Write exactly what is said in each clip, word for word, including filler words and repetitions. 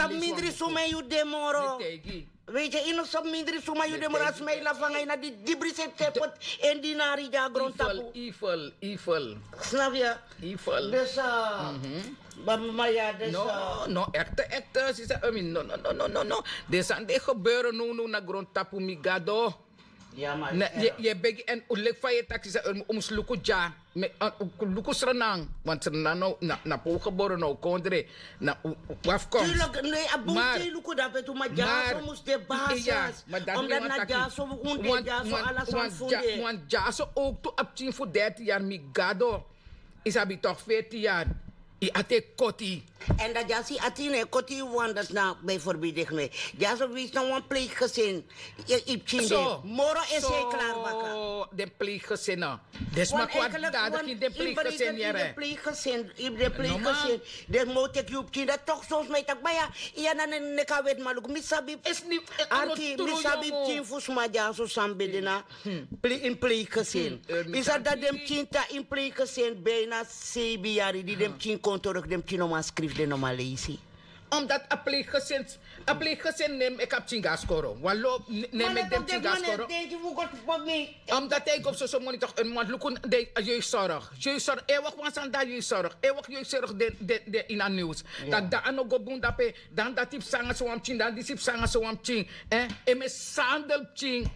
Mindri suma yu de moro. Weet je, ino so mindri suma yu de moro, a sma e lafu nanga yu na di dibri se poti en dinari di a grontapu. Evil, evil. Snap ya? Evil. Dus, uh, mama ya, dus, no, uh, no, echte, echte, sisa, I mean, no, no, no, no, no, no. Den sani di e gebeuren now, now na grontapu, mi gado. Ya, ma, ne, yu e begi en un leki fa yu e taki, sisa, un mus luku dya. Luku Sranan, want Sranan na, na, na pe un gebore, na un kondre, na un, un afkomst. Tuurlijk, nee, a bun. Mar, luku dape tu, ma dyaso mus de basis. Omdat na dyaso un de, dyaso ala sani fu de. Want dyaso ook tu a pikin fu dertien yari, mi gado. Yu sabi toch, veertien yari. Yu ati e koti. En dan dyaso yu ati no e koti yu, want dat na bijvoorbeeld, dyaso wi na wan pleeggesin. Yu pikin de moro, esi e klari baka. Den pleeggesin. Den sma kon a dada gi den pleeggesin, yere. Yu den pleeggesin, yu den pleeggesin. Den mo teki yu pikin, dat toch soms mi taki baya. Iya, na ne kan weti, ma luku, mi sabi. Arki, mi sabi pikin fu sma dyaso san ben de na in pleeggesin. Yu sabi dat den pikin tan in pleeggesin bijna seibin yari, di den pikin kon terug, den pikin no man skrifi, den no man leisi. Omdat a pleeggesin, a pleeggesin no e meki a pikin go na skoro. Wan lo, no e meki den pikin go na skoro. Omdat a e go fu soso moni toch, un mus luku den jeugdzorg. Jeugdzorg, eeuwig wan sani dan jeugdzorg. Eeuwig jeugdzorg den, den, den ini a nieuws. Tak' dan a no go bun dape, dan dati psa nanga so wan pikin, dan disi psa nanga so wan pikin. Eh, e mishandel pikin.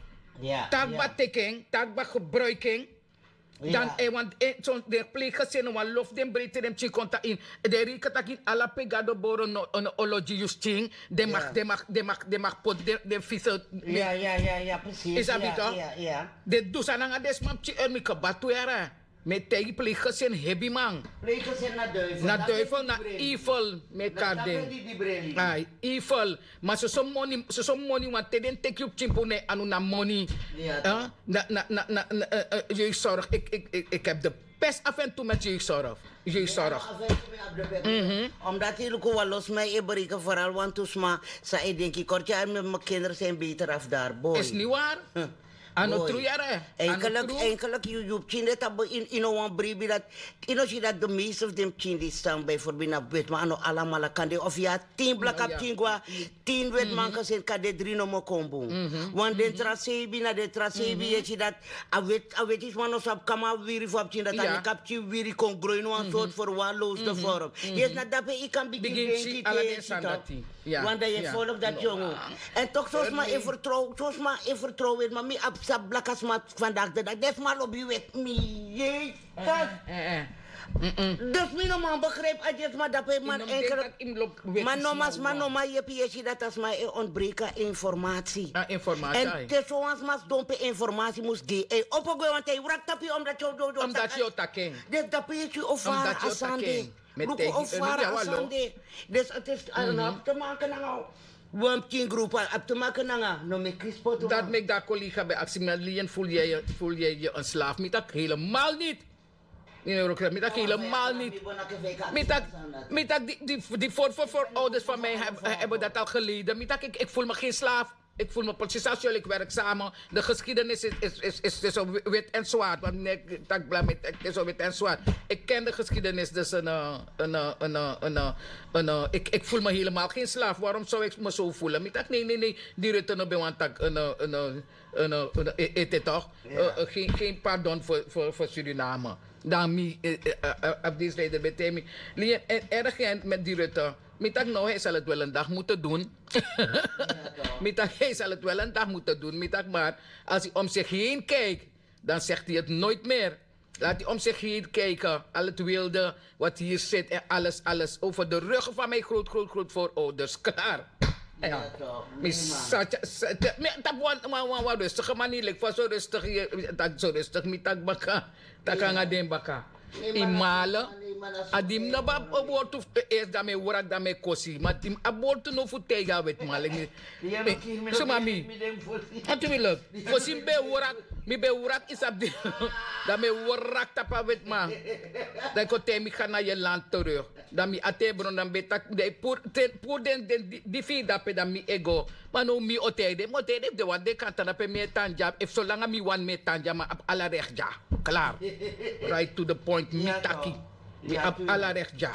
Taki ba teki en, taki ba gebruiki en. Dan, eh, want, eh, so den pleeggesin, wan lo fu den breiti den pikin kon tan ini. Den reken taki ala pe gado boro no, no olo gi yu skin. Den mag, den mag, den mag, den mag poti den, den vieze. Ya, ya, ya, ya, precies. Yu sabi toch? Den du sani nanga den sma pikin, eh, mi kaba tu yara. Mi e taigi, pleeggesin hebi, man. Pleeggesin na duivel. Na duivel, na evil, mi e kari den. Ai, evil. Ma soso moni, soso moni, want te den teki yu pikin puru na yu anu, na moni. Na, na, na, na, eh, eh, jeugdzorg. Ik, ik, ik, ik heb de pest af en toe met jeugdzorg. Jeugdzorg. Omdat yu luku, wan lo sma e bereiken, vooral wantu sma san e denki: kort jaar, mijn kinderen zijn beter af daar, boy. Is niet waar. A no tru, yere. Eigenlijk, eigenlijk yu, yu pikin de tapu in, yu no wan bribi dat, yu no si dat de meeste fu den pikin di stan bijvoorbeeld na wetman, a no alamala kan de, of yu abi tin blaka pikin go na tin wetman gezin, kan de dri nomo kon bun. Want den tra seibin, na den tra seibin yu e si dat a wet, a wetisman no sabi kama wiri fu a pikin, dat a meki a pikin wiri kon groei in wan soort verwaarloosde vorm. Yes, na dape yu kan bigin denki te yu e si toch. Want dan yu e follow dat jongen. En toch, so sma e vertrouw, so sma e vertrouw, weet, ma mi abi sa blaka sma vandaag de dag. Den sma lobi weti mi, Jezus. Dus mi no man begrijp a den sma dape, man, enkel. Ma no man, sma no man yepi, yu e si dat a sma e ontbreken informatie. En te so wan sma sidon pe informatie mus gi, e opo gwe, want a e wraki tapu yu, omdat yu o taki en. Dus dape yu e si o fara a sani de. Luku o fara a sani de. Dus het is, a no abi te maken nanga wan pikin groep, a abi te maken nanga no meki spotu. Dat meki dan a collega ben aksi mi: Lien, voel jij je, voel jij je een slaaf? Mi taki helemaal niet. Mi taki helemaal niet. Mi taki, mi taki die, die, die voor, voor, voorouders van mij heb-, hebben dat al geleden. Mi taki, ik, ik voel me geen slaaf. Ik voel me precies als jullie, ik werk samen. De geschiedenis is, is, is, is tussen wi-, wit en zwart. Want nee, tak' bla, mi taki tussen wit en zwart. Ik ken de geschiedenis, dus een, eh, een, eh, een, eh, een, eh, een, eh, ik, ik voel me helemaal geen slaaf. Waarom zou ik me zo voelen? Mi taki nee, nee, nee. Die Rutte no ben wan taki, een, eh, een, eh, een, eh, een, eh, ete toch? Eh, eh, geen, geen pardon voor, voor, voor Suriname. Dan mi, eh, eh, eh, eh, op deze leider ben tegen mi. Lien, en erg met die Rutte. Mi taki nou, hij zal het wel een dag moeten doen. Mi taki hij zal het wel een dag moeten doen. Mi taki, maar als hij om zich heen kijkt, dan zegt hij het nooit meer. Laat hij om zich heen kijken. Al het wilde wat hier zit en alles, alles over de ruggen van mijn groot, groot, grootvoorouders. Klaar. Ja. Mi sa-, sa-, mi taki wan, wan, wan, wan rustige manier, like, fa so rustig, yu taki so rustig, mi taki baka. Taki nanga den baka. Yu male. A di mi no abi wortu eerst, dan mi e wraki, dan mi e kosi. Ma di mi abi wortu now fu taigi a wetman, like, mi, so mami. Natuurlijk. Fosi mi ben e wraki, mi ben e wraki, yu sabi. Dan mi e wraki tapu a wetman. Dan yu kon taigi mi: ga naar je land terug. Dan mi ati e bron, dan mi ben taki, dan yu puru, te, puru den, den, di, di fu yu dape, dan mi e go. Ma now mi o taigi den, mi o taigi den, fu den wani, den kan tan na pe mi e tan dya. Efu solanga mi wani, mi e tan dya, mi abi ala recht dya. Klaar. Right to the point, mi taki. Mi abi ala recht dya.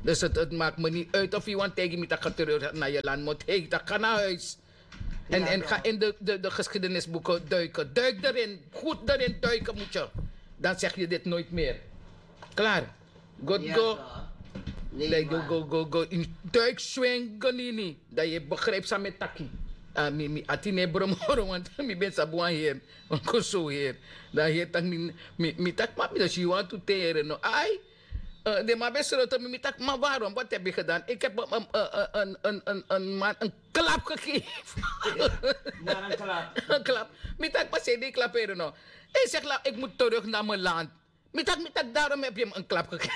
Dus het maakt me niet uit of iemand tegen mi tak getreur na je land moet heet dat ga naar huis. En en ga in de geschiedenisboeken duiken duik erin. Goed erin duiken moet je. Dan zeg je dit nooit meer. Klaar. Go go. Go go go go in duik swing gonini. Dat je begrijpt samen taki. Mi mi atine bromoro want mi ben sabuan hier. Wan koso hier. Dan hier tak mi mi tak ma mi dus you want to teren no ai. De man ben sroto mi mi tak ma waarom wat heb je gedaan ik heb een een een een een man een klap gegeven. Een klap. Mi tak ma sedi klap eren no. Hij zegt la ik moet terug naar mijn land. Mi tak mi tak daarom heb je hem een klap gegeven.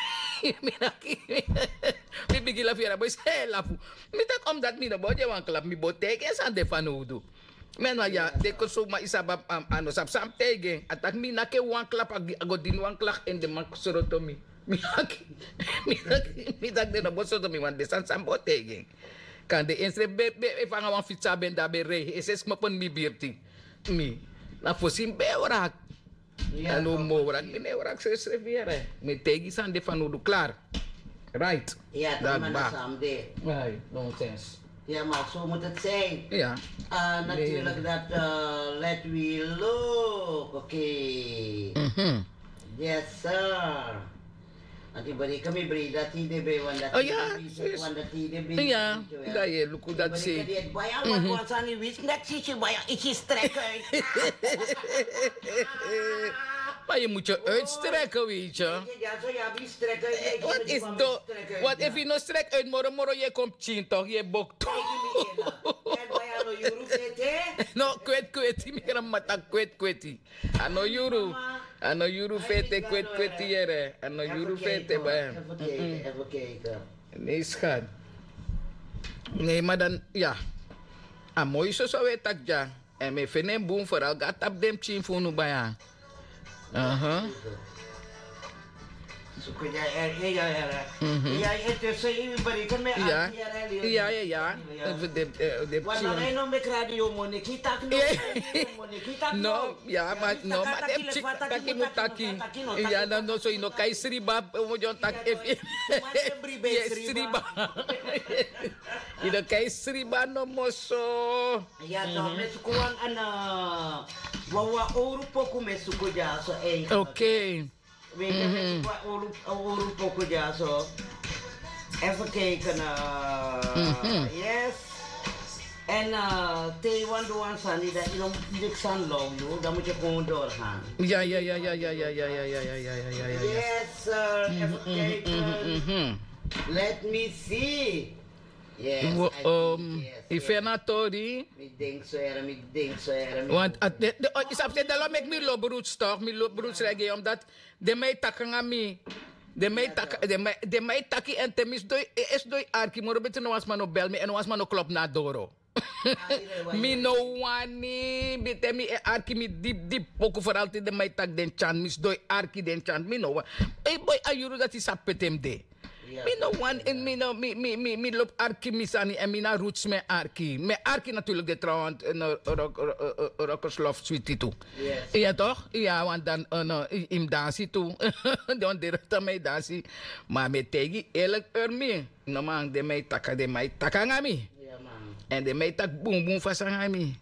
Mi bigin lafu yara boys hei lafu. Mi tak omdat mi no bo de wan klap mi bo teken san de van nodu. Men wan ya de kon suma isaba. Ano sab sam tegen atak mi nake wan klap a go din wan klak en de man sroto mi. Mi naki mi tak de no bo sroto mi wan de san sam bo tegen. Kan de ensre be be fanga wan fitsa ben da be rei ese smopen mi birti. Mi na fosi mi be wrak. Alo mo wrak mi ne wrak sesrefi yere. Mi tegi san de van nodu klaar. Right. Dat ba. Ai nonsens. Ja maar zo moet het zijn. Ja. Natuurlijk dat let we look oké. Yes sir. Anti bari kami bri dati de be wan dati. Oh ya. Wan dati de be. Ja. Dat je luku dat si. Baya wan wan sani wis nek si si baya isi strek uit. Maar je moet je uitstrekken, weet je. Wat is do? Wat if je no strek uit moro moro je komt zien toch je bok toch. No kwet kweti mi gran mata kwet kweti. Ano yuru. Ano yuru fete kwet kweti yere ano yuru fete ba. Nee schat. Nee maar dan ja. A moi soso we tak dya. En mi fini en bun vooral go a tapu den pikin fu unu baya. Aha. Suku ya ya ya ya ya. Ya ya ya ya. Wan na no meki radio moneki taki no. Moneki taki no. Ya ma no ma den pikin taki mu taki. Ya na no so yu no kai sriba. Mo jon taki efu. Yes sriba. Yu no kai sriba no mo so. Ya to me suku wan ana. Wawa oru poku me suku dya so ei. Okay. We ga me suku wan oru poku dya so. Even kijken. Yes. En te wan do wan sani dat yu no dik san low yu dan moet je gewoon doorgaan. Ja ja ja ja ja ja ja ja ja ja ja ja ja ja. Yes sir. Even kijken. Let me see. Yes. Ifena tori. Mi denk so here mi denk so here. Want isabi se dalo meki mi lobroots toch mi lobroots regi omdat den man e taki nanga mi. Den man e taki en te mi sidon e sidon e arki moro beti no wan sma no bel mi en no wan sma no klop na a doro. Mi no wani beti mi e arki mi dipi dipi poku foral te den man e taki den tyan mi sidon e arki den tyan mi no wani. Ei boi a yuru dati sabi pe te mi de. Mi no wan en mi no mi mi mi mi lobi arki mi sani en mi na roots mi e arki mi e arki naturlik de trouwant. Rokkerslof switi tu. Ya tok ya want dan yu mus dansi tu. Don direkta mi e dansi. Ma mi e taigi yu eerlik eur mi. No man den mi e taki den mi e taki nanga mi. En den mi e taki bunbun fasi nanga mi.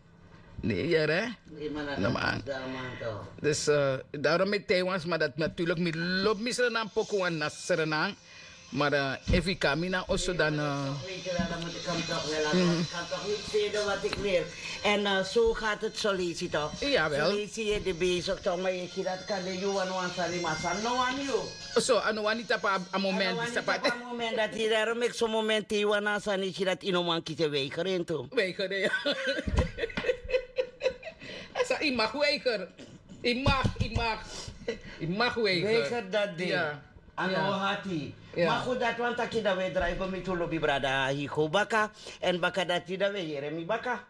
Ne yere. No man. Dus darom mi tei wan sma dati naturlik mi lobi mi srenan poku wan na srenan. Maar efu yu kan mi na oso dan. Weet je wel dan moet ik hem toch wel laten want ik kan toch niet velen wat ik wil. En zo gaat het zo leisi toch. Zo leisi je de bezig toch maar je ziet dat kan de yu wan wan sani maar sani no wan yu. So a no wani tapu a moment dati. Darom meki so moment te yu wan na sani yu si dati yu no man kisi e weiger en tu. Weiger ya. A sa yu mag weiger. Yu mag yu mag. Yu mag weiger. Weiger dati de. A no hati. Ma fu dati wan taki dan we drai go mi tu lobi brada higo baka. Èn baka dati dan we yere mi baka.